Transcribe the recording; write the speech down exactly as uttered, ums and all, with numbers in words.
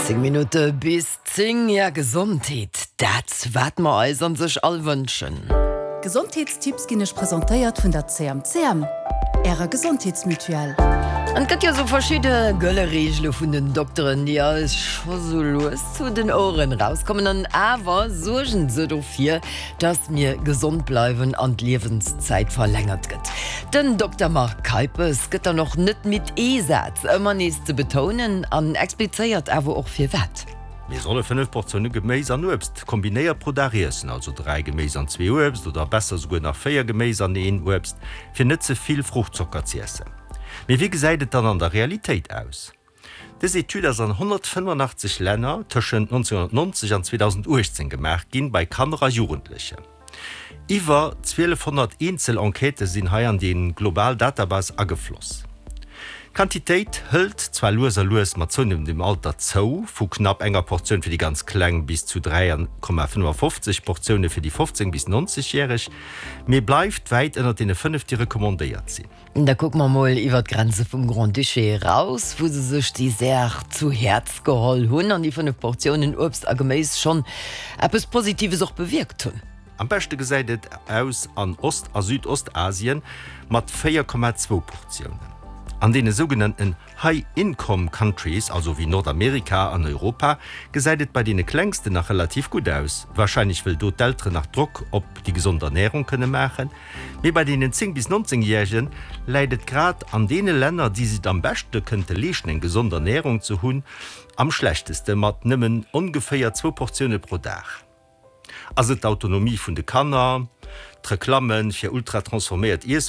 Zéng Minutte bis zéng. Ja, Gesondheet, dat wat mer eis an sech all wënschen. Gesondheetstipps ginn iech presentéiert vun der C M C M, ärer Gesondheetsmutuelle. An et gëtt jo sou verschidde gëlle Reegele vun den Dokteren, déi eis scho sou lues zu den Oueren rauskommen, an awer suergen se dofir, dass mir gesond bleiwen an d'Liewenszäit verlängert gëtt. Den Dokter Marc Keipes gëtt dann och net midd, ee Saz ëmmer nees ze betounen an explizéiert awer och, firwat. Mir solle fënnef Portioune Geméis an Uebst kombinéiert pro Dag iessen, also dräi Geméis an zwee Uebst oder besser souguer nach véier Geméis an een Uebst, fir net ze vill Fruchtzocker z'iessen. Mee wéi gesäit et dann an der Realitéit aus? Dës Etüd ass an honnertfënnefenachtzeg Länner tëschent nonzénhonnertnonzeg an zweedausendachtzéng gemaach ginn, bei Kanner a Jugendlechen. Iwwer zwielefhonnert eenzel Enquêtë sinn hei an déi global Database agefloss. D'Quantitéit hëlt zwar lues a lues mat zounehmendem Alter zou, vu knapp enger Portioun fir déi ganz Kleng bis zu dräi Komma fënnefafofzeg Portioune fir déi fofzéng bis nonzeg Järeg, mee bleift wäit ënnert deene fënnef, déi recommandéiert sinn. Da kucke mer mol iwwer d'Grenze vum Grand-Duché eraus, wou se sech déi Saach zu Häerz geholl hunn an déi fënnef Portiounen Uebst a Geméis schonn eppes Positives och bewierkt hunn. Am beschte gesäit et aus an Ost a Südostasien mat véier Komma zwou Portiounen. An deene sougenannten High-Income Countries, also wéi Nordamerika an Europa, gesäit et bei deene Klengsten nach relativ gutt aus, warscheinlech wëll do d'Elteren nach Drock op déi gesond Ernärung kënne maachen, mee bei deenen zéng bis nonzéng Järege läit et grad an deene Länner, déi sech et am beschte kënnte leeschten, eng gesond Ernärung ze hunn, am schlechteste mat nëmmen ongeféier zwou Portioune pro Dag. Ass et d'Autonomie vun de Kanner, d'Reklamme fir ultratransforméiert Iesswueren?